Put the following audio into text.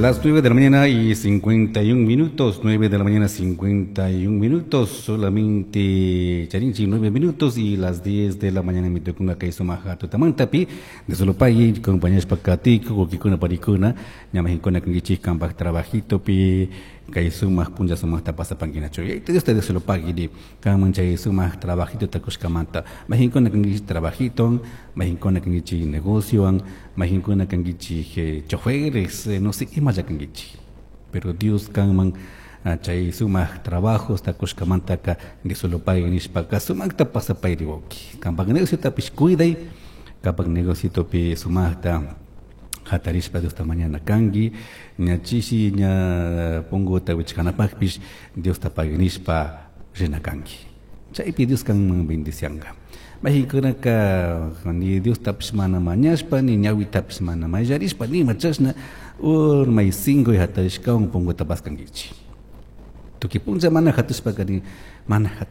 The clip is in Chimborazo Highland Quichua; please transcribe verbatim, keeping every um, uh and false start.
Las nueve de la mañana y cincuenta y un minutos, nueve de la mañana cincuenta y un minutos, solamente charinchi nueve minutos y las diez de la mañana mi tukunga kay sumaja tutamantapi de solo pagui compañeros pakatico, wawkikuna panikuna, ñamajinkuna kankichik kanpak trabajito pi kay sumak punlla sumakta pasapankinachu. Y Dios te solo pagui kanman chay sumak trabajito takushkamanta. Majinkuna kankichik trabajito, majinkuna kankichik negociowan, majinkuna kankichik choferes, no sé imalla kankichik. Pero Dios kanman chay sumak trabajos takushkamantaka de solo pagui nishpaka sumakta pasapayri, wawki. Kanpak negociotapish cuiday, kanpak negociotopi sumakta hatarishpa Diosta mañana kanki, ña chishi ña punguta wichkanapakpish Diosta pagui nishpa rina kanki. Chaypi Dios kanman bendicianga. Mayqinkunaka ni Diostapish mana mañashpa, ni ñawitapish mana mayllarishpa, nima chashna urmay cinco hatarishkawan punguta paskankichik. Tukuy punlla mana hatushpaka ni mana hatush